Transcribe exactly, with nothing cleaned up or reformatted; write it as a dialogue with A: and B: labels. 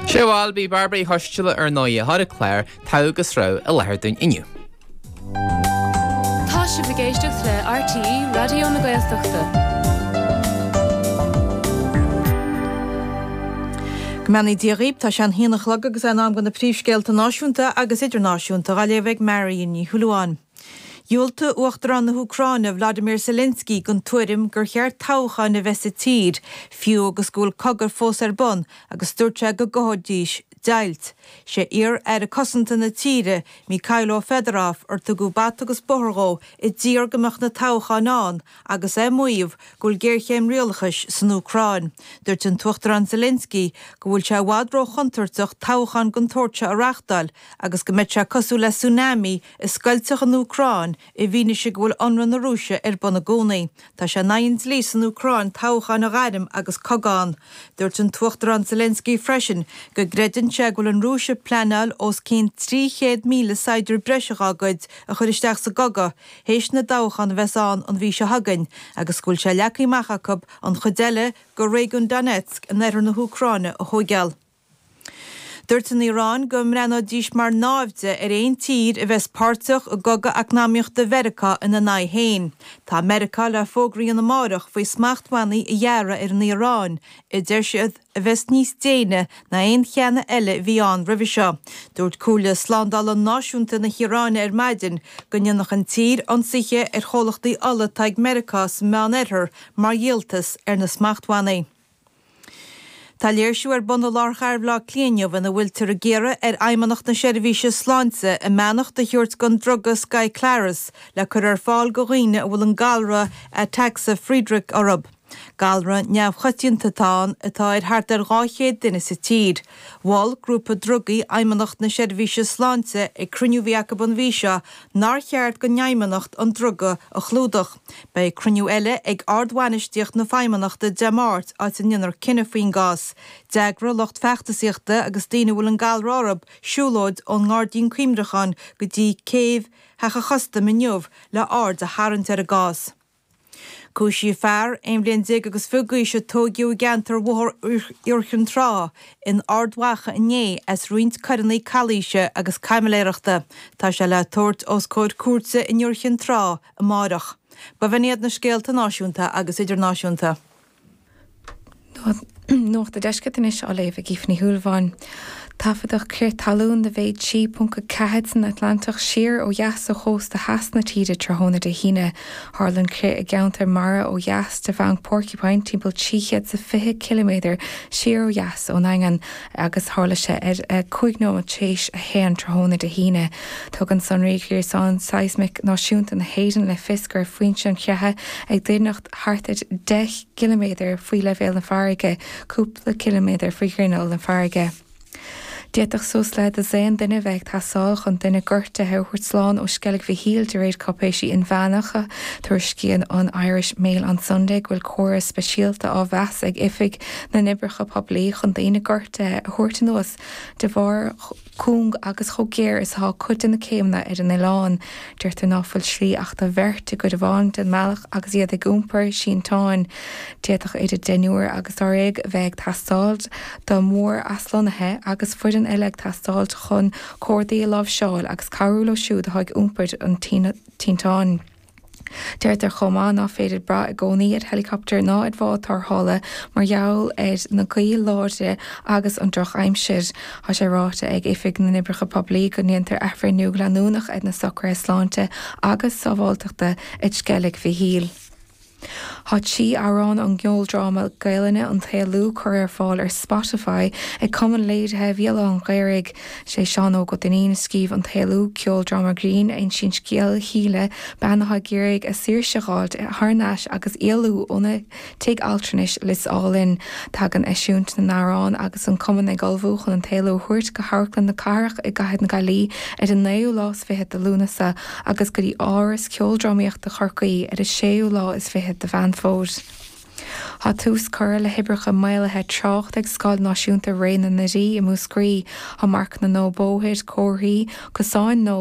A: Sé bhil bí Bairbre Uí Choisteala ar ndóigh a chuir an clár Togha agus Rogha i láthair dúinn inniu.
B: Tá sibh ag éisteacht le RTÉ Raidió na Gaeltachta.
C: Go mbeannaí Dia dhaoibh, tá sé an haon a chlog agus é in am do na príomhscéalta náisiúnta agus idirnáisiúnta á léamh ag Marion Ní Shúilleabháin. Dhiúltaigh Uachtarán na hÚcráine Vladimir Zelensky don tuairim gur cheart toghcháin a bheith sa tír, fiú agus go bhfuil cogadh fós ar bun agus dúirt sé go gcothóidís deighilt. Sé iar-aire cosanta na tíre, Mykhailo Fedorov, ar tugadh bata agus bóthar dhó a d'iarr go mbeadh na toghcháin ann agus é ag maíomh go bhfuil géarchéim rialachais san Úcráin. Dúirt an tUachtarán Zelensky go bhfuil sé i bhfad róchontúirteach toghchán den tsórt seo a reáchtáil agus go mbeadh sé cosúil le tsunami a scoiltfeadh an Úcráin i bhfianaise go bhfuil ionradh na Rúise ar bun i gcónaí. Tá sé in aghaidh an dlí san Úcráin toghcháin a ghairm agus cogadh ann. Dúirt an tUachtarán Zelensky freisin go gcreideann sé go bhfuil an Rúis ag pleanáil os cionn trí chéad míle saighdiúir breise dá gcuid a chur isteach sa gcogadh théis na dtoghchán a bheas ann an mhí seo chugainn agus go bhfuil sé leagtha amach acu an chuid eile de réigiún Donetsk in oirthear na hÚcráine a thóigeáil. Dúirt an Iaráin go mbreathnóidís mar naimhde ar aon tír a bheas páirteach i gcogadh eacnamaíochta Mheiriceá ina n-aghaidh féin. Tá Meiriceá le fógra a dhéanamh amárach faoi smachtbhannaí a ghearradh ar an Iaráin, a deir siad a bheas níos déine ná aon cheann eile a bhí ann roimhe seo. Dúirt Comhairle Slándála Náisiúnta na hIaráine ar maidin go ndéanfadh an tír ionsaithe ar chomhlachtaí ola atá ag Meiriceá sa Meánoirthear mar dhíoltas ar na smachtbhannaí. Tá léirsiú ar bun i lár chathair Bhaile Átha Cliath inniu ina bhfuiltear ag iarraidh ar Fheidhmeannacht na Seirbhíse Sláinte a mbeannacht a thabhairt don druga Skyclarys le cur ar fáil do dhaoine a bhfuil an galra Ataxia Friedreich orthu. Galra neamhchoitianta atá ann atá ar thart ar dhá chéad duine sa tír. Mhol grúpa drugaí Fheidhmeannacht na Seirbhíse Sláinte ag cruinniú a bhí acu an mhí seo nár cheart don Fheidhmeannacht an druga a chlúdach. Beidh cruinniú eile ag ardbhainistíocht na Feidhmeannachta Dé Máirt áit a ndéanfar cinneadh faoin gcás. D'eagraigh lucht feachtasaíochta agus daoine a bhfuil an galra orthu siúlóid ón nGairdín Cuimhneacháin go dtí céibh Theach an Chustaim inniu le aird a tharraingt ar an gcás. Cúisíodh fear aon bhliain déag agus fiche d'aois a tóigeadh i gceantar Bhóthar Iúr Chinn Trá in Ard Mhacha inné as roinnt coireanna calaoise agus caimiléireachta. Tá sé le tabhairt os comhair cúirte in Iúr Chinn Trá amárach. B'in iad na scéalta náisiúnta agus idirnáisiúnta.
D: Nuacht an Deiscirt anois á léamh ag Aoife Ní Shúilleabháin. Taifeadadh crith talún de mhéid trí ponc a ceathair san Atlantach siar ó dheas ó chósta theas na tíre tráthnóna Dé hAoine. Tharla an crith i gceantar mara ó dheas de Bhanc Porcupine timpeall trí chéad is a fiche ciliméadar siar ó dheas ón nDaingean agus tharla sé ar a cúig nóiméad tar éis a haon tráthnóna Dé hAoine. Tugann sonraí Ghréasán Seismic Náisiúnta na hÉireann le fios go raibh foinse an chreatha ag doimhneacht thart ar deich gciliméadar faoi leibhéal na farraige, cúpla ciliméadar faoi ghrinneall na farraige. D'fhéadfadh suas le dosaen duine a bheith ag teastáil chun duine gortaithe a thabhairt slán ó Sceilg Mhichíl de réir cáipéisí inmheánacha. Tuairiscíonn an Irish Mail on Sunday go bhfuil córas speisialta á mheas ag Oifig na nOibreacha Poiblí chun daoine gortaithe a thabhairt anuas de bharr cúng agus chomh géar is atá cuid de na céimeanna ar an oileán. Deirtear ná fuil slí ach do bheirt i gcuid amháin den mbealach agus iad ag iompar sínteáin. D'fhéadfadh idir deichniúr agus dáréag a bheith ag teastáil do mhór-aslonnaithe agus foireann eile ag teastáil chun cordaí a láimhseáil agus cabhrú leo siúd atá ag iompar an tinteáin. Deirtear chomh maith ná féidir brath i gcónaí ar helicopter ná ar bhád tarrthála mar gheall ar na gaoth láidre agus an drochaimsir. Tá sé ráite ag Oifig na nOibreacha Poiblí go ndéantar athbhreithniú leanúnach ar na socruithe sláinte agus sábháilteachta ag Sceilg Mhichíl. Tá trí amhrán ón gceoldráma Gaelainne An tÉalú curtha ar fáil ar Spotify ag Cumann Léirithe Bhéal Átha an Ghaorthaidh. Sé Seán Óg Ó Duinnín a scríobh An tÉalú, ceoldráma grinn a insíonn scéal Shíle, bean atá ag iarraidh a saoirse a dh'fháilt thar n-ais agus éalú óna tigh altranais Lios Álainn. Tagann eisiúint na n-amhrán agus an cumann ag ullmhú chun An tÉalú a thabhairt go hAmharclann na Cathrach i gcathair na Gaillimhe ar an naoú lá is fiche de Lúnasa agus go dtí Áras Ceoldrámaíochta Chorcaí ar an séú lá is fiche de Mheán Fómhair. Tá tús curtha le hoibreacha maolaithe tráchta ag Scoil Náisiúnta Ré na nDoirí i Múscraí. Tá marcanna nua bóthair, comharthaí, cosáin nua,